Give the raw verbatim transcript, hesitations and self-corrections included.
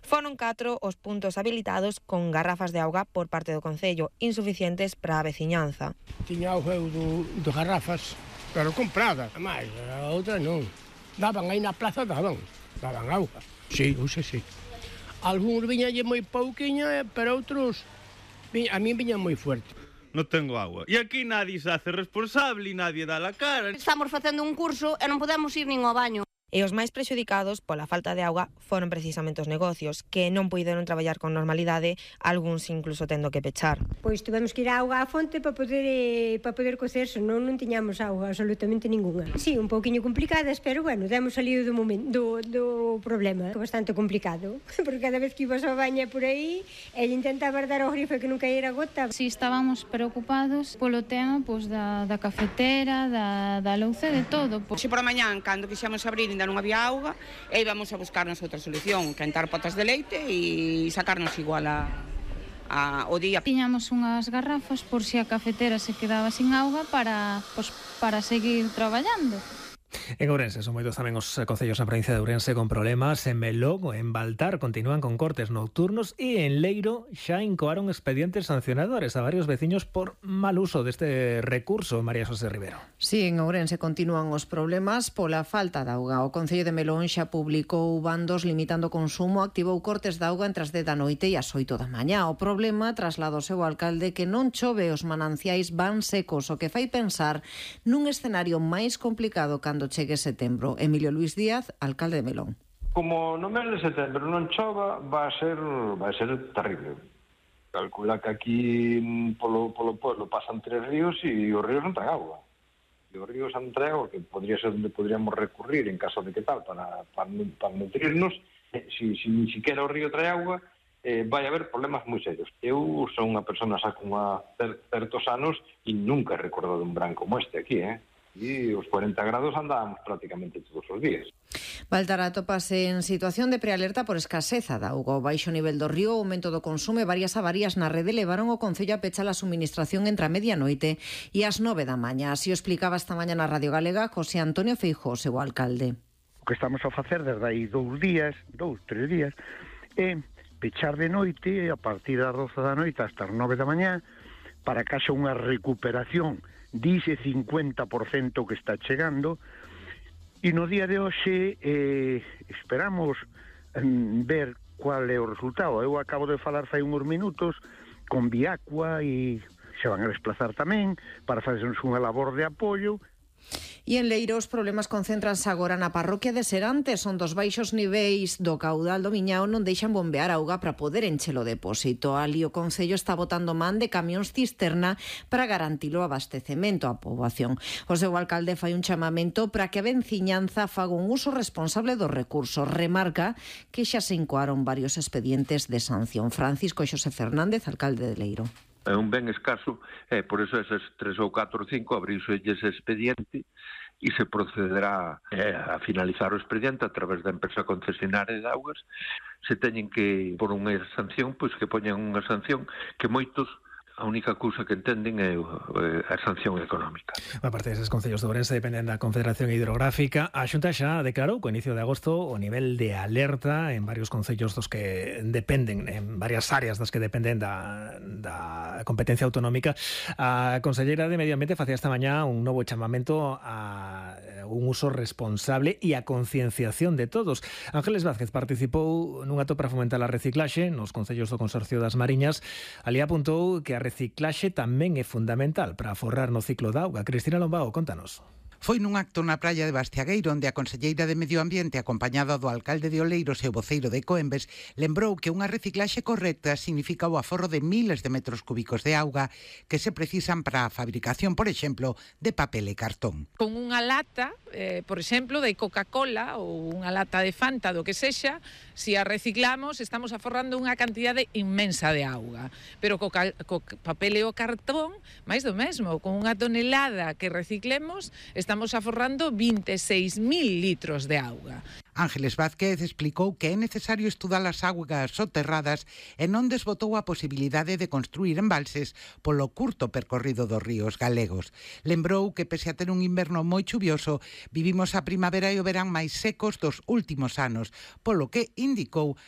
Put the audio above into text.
Foron catro os puntos habilitados con garrafas de auga por parte do Concello, insuficientes para a veciñanza. Tiña auga do, do garrafas, pero comprada, máis, a outra non. Daban aí na plaza, daban, daban auga. Sí, uxe, sí. Algúns viñalle moi pouquiña, pero outros, a mí viña moi fuerte. Non tengo agua. E aquí nadie se hace responsable e nadie dá la cara. Estamos facendo un curso e non podemos ir nin ao baño. E os máis prexudicados pola falta de auga foron precisamente os negocios, que non puideron traballar con normalidade, algúns incluso tendo que pechar. Pois tivemos que ir á auga á fonte para poder eh, para poder cocer, senón non tiñamos auga absolutamente ninguna. Sí, un pouquiño complicadas, pero bueno, demos salido do momento do, do problema, bastante complicado, porque cada vez que ibas ao baño por aí, ella intentaba dar ao grifo que non caíra gota. Si estábamos preocupados polo tema pois, da, da cafetera, da, da louce, de todo. Si por a mañán, cando quixamos abrir, ainda non había auga, e íbamos a buscarnos outra solución, quentar potas de leite e sacarnos igual a, a, o día. Tiñamos unhas garrafas por si a cafetera se quedaba sin auga para, pues, para seguir traballando. En Ourense son moitos tamén os concellos na provincia de Ourense con problemas. En Melón ou en Baltar continúan con cortes nocturnos e en Leiro xa incoaron expedientes sancionadores a varios veciños por mal uso deste recurso. María José Rivero. Sí, en Ourense continúan os problemas pola falta de auga. O Concello de Melón xa publicou bandos limitando o consumo, activou cortes de auga entre as dez da noite e as oito da mañá. O problema traslada o seu alcalde que non chove, os mananciais van secos, o que fai pensar nun escenario máis complicado cando chegue setembro. Emilio Luis Díaz, alcalde de Melón. Como no mes de setembro non chova, va a ser va a ser terrible. Calcula que aquí polo, polo pueblo pasan tres ríos e os ríos non traen agua. E os ríos non traen agua, que podría ser onde podríamos recurrir en caso de que tal, para, para, para nutrirnos. Si, si ni siquiera o río trae agua, eh, vai haber problemas moi serios. Eu son unha persona xa con certos anos e nunca he recordado un verán como este aquí, eh? E os cuarenta grados andábamos prácticamente todos os días. Baltar atópase en situación de prealerta por escaseza de auga. O baixo nivel do río, o aumento do consumo e varias avarías na rede levaron o Concello a pechar a suministración entre a medianoite e as nove da mañá. Así o explicaba esta mañá na Radio Galega José Antonio Feijóo, seu alcalde. O que estamos a facer desde aí dous días, dous, tres días, é pechar de noite a partir das doce da noite hasta as nove da mañá para que haxa unha recuperación dice cincuenta por ciento que está chegando, e no día de hoxe eh, esperamos mm, ver cual é o resultado. Eu acabo de falar fai uns minutos con Viacua e se van a desplazar tamén para facernos unha labor de apoio. E en Leiro os problemas concéntranse agora na parroquia de Serantes, onde os baixos niveis do caudal do Miñao non deixan bombear auga para poder encher o depósito. Ali o Concello está botando man de camións cisterna para garantir o abastecemento á poboación. O seu alcalde fai un chamamento para que a veciñanza faga un uso responsable dos recursos. Remarca que xa se incoaron varios expedientes de sanción. Francisco Xosé Fernández, alcalde de Leiro. É un ben escaso, e por eso eses tres ou catro ou cinco abrirse ese expediente e se procederá eh, a finalizar o expediente a través da empresa concesionaria de augas. Se teñen que por unha sanción, pois que poñan unha sanción que moitos a única cousa que entenden é a sanción económica. A parte deses concellos de Ourense dependen da Confederación Hidrográfica. A Xunta xa declarou co inicio de agosto o nivel de alerta en varios concellos dos que dependen, en varias áreas das que dependen da, da competencia autonómica. A conselleira de Medio Ambiente facía esta mañá un novo chamamento a un uso responsable e a concienciación de todos. Ángeles Vázquez participou nun acto para fomentar a reciclaxe nos concellos do Consorcio das Mariñas. Ali apuntou que a reciclaxe tamén é fundamental para aforrar no ciclo da auga. Cristina Lombao, contanos. Foi nun acto na praia de Bastiagueiro onde a conselleira de Medio Ambiente, acompañada do alcalde de Oleiros e o voceiro de Coembes, lembrou que unha reciclaxe correcta significa o aforro de miles de metros cúbicos de auga que se precisan para a fabricación, por exemplo, de papel e cartón. Con unha lata, eh, por exemplo, de Coca-Cola ou unha lata de Fanta, do que sexa, se a reciclamos estamos aforrando unha cantidade inmensa de auga. Pero co, co papel e o cartón, máis do mesmo, con unha tonelada que reciclemos, estamos aforrando vinte e seis mil litros de auga. Ángeles Vázquez explicou que é necesario estudar as augas soterradas e non desbotou a posibilidade de construir embalses polo curto percorrido dos ríos galegos. Lembrou que, pese a ter un inverno moi chuvioso, vivimos a primavera e o verán máis secos dos últimos anos, polo que indicou